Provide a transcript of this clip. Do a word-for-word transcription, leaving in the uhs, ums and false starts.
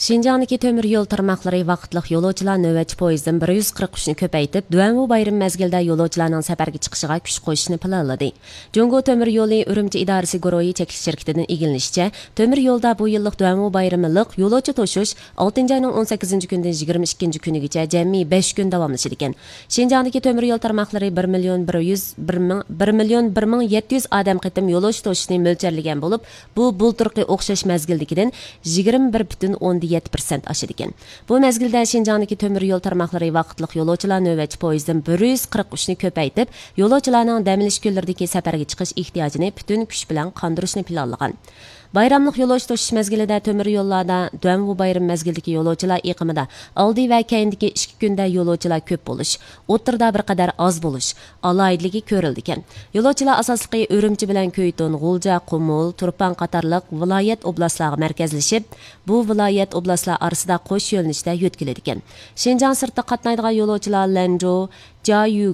شىنجاڭدىكى تۆمۈر يول تارماقلىرى ۋاقىتلىق يولۇچىلار نۆۋەتچى پويىزدىن بىر يۈز قىرىق ئۈچنى كۆپەيتىپ، دۇەنۋۇ بايرىمى مەزگىلىدە يولۇچىلارنىڭ سەپەرگە چىقىشىغا كۈچ قوشۇشنى پىلانلىدى. جۇڭگو تۆمۈر يولى ئۈرۈمچى ئىدارىسى گۇرۇھى چەكلىك شىركىتىدىن ئىگىلىنىشىچە، تۆمۈر يولدا بۇ يىللىق دۇەنۋۇ بايرىملىق يولۇچى توشۇش ئالتىنچى ئاينىڭ ئون سەككىزىنچى كۈنىدىن يىگىرمە ئىككىنچى كۈنىگىچە جەمئىي بەش كۈن داۋاملىشىدىكەن. شىنجاڭدىكى تۆمۈر يول تارماقلىرى بىر مىليون بىر يۈز، بىر مىڭ، بىر مىليون بىر مىڭ يەتتە يۈز ئادەم قېتىم يولۇچى توشۇشنى مۆلچەرلىگەن بولۇپ، بۇ بۇلتۇرقى ئوخشاش مەزگىلدىكىدىن يىگىرمە بىر پۈتۈن ئوندىن يەتتە پىرسەنت ئاشىدىكەن. بۇ مەزگىلدە شىنجاڭدىكى تۆمۈر يول تارماقلىرى ۋاقىتلىق يولۇچىلار نۆۋەتچى پويىزدىن بىر يۈز قىرىق ئۈچنى كۆپەيتىپ، يولۇچىلارنىڭ دەم ئېلىش كۈنلىرىدىكى سەپەرگە چىقىش ئېھتىياجىنى پۈتۈن كۈچ بىلەن قاندۇرۇشنى پىلانلىغان. بايراملىق يولۇچى توشۇش مەزگىلىدە تۆمۈر يوللاردا دۇەنۋۇ بايرىمى مەزگىلىدىكى يولۇچىلار ئېقىمىدا ئالدى ۋە كەينىدىكى ئىككى كۈندە يولۇچىلار كۆپ بولۇش، ئوتتۇرىدا بىر قەدەر ئاز بولۇش ئالاھىدىلىكى كۆرۈلىدىكەن. يولۇچىلار ئاساسلىقى ئۈرۈمچى بىلەن كۆيتون، غۇلجا، قۇمۇل، تۇرپان قاتارلىق ۋىلايەت ئوبلاستلارغا مەركەزلىشىپ، بۇ ۋىلايەت ئوبلاستلار ئارىسىدا قوش يۆنىلىشتە يۆتكىلىدىكەن. شىنجاڭ سىرتىغا قاتنايدىغان يولۇچىلار لەنجۇ، جيايۈ،